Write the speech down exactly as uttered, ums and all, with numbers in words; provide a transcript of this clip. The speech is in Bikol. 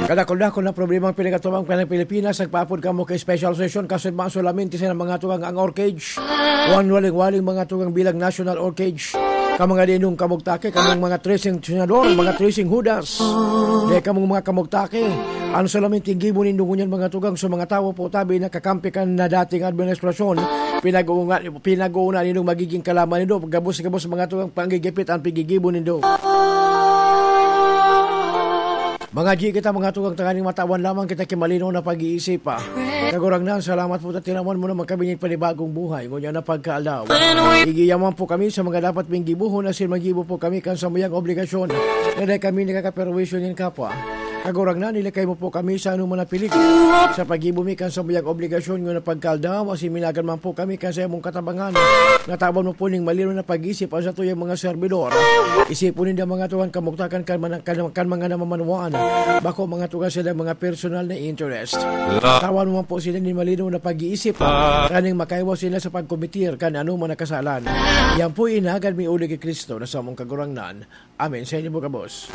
Kadakul-dakul na problemang pinagatuang ka ng Pilipinas, nagpaapod kamo kay special session, kasudma solamente sa mga tugang ang orchage. Wan waling-waling mga tugang bilang national orchage. Ka mga dinong kamugtake, kamong mga tracing senador, mga tracing hudas. Di kamong mga kamugtake. Ang solamente gibo nindo ngunyan mga tugang sa mga tawo po tabi na kakampi kan na dating administrasyon. Pinag-uunga, pinag-uuna nindong magiging kalaban nindo. Gabos-gabos mga tugang panggigipit ang pigigibo nindo. Mga G kita, mga tugang, tanganing matawan lamang kita ki malinaw na pag-iisip, ah. Kagurangnan, salamat po ta tinawan mo naman kami nin panibagong buhay. Ngunyan na pagkaaldaw. Igiyaman po kami sa mga dapat ming gibuhon, asin maggibo po kami kan samuyang obligasyon. Na dai kami nakakaperwisyo nin kapwa. Kagurangnan, ilakay mo po kami sa anoman na piligro. Sa paggibo mi kan samuyang obligasyon, ngunyan na pagkaaldaw, asin minagan man po kami kan sa imong katabangan. Natawan mo po ning malinaw na pag-iisip ang satuyang mga servidor. Isipon ninda mga tugang kamugtakan kan, mana- kan, kan mga namamanwaan. Bako mga tugang sila mga personal na interest. Tawan mo po sila ni malinaw na pag-iisip. Kaning makaiwas sila sa pagkomitir kan anoman na kasalan. Yan po inagad mi uli ki Kristo na samong Kagurangnan. Amen. Sa inyo po, kabos.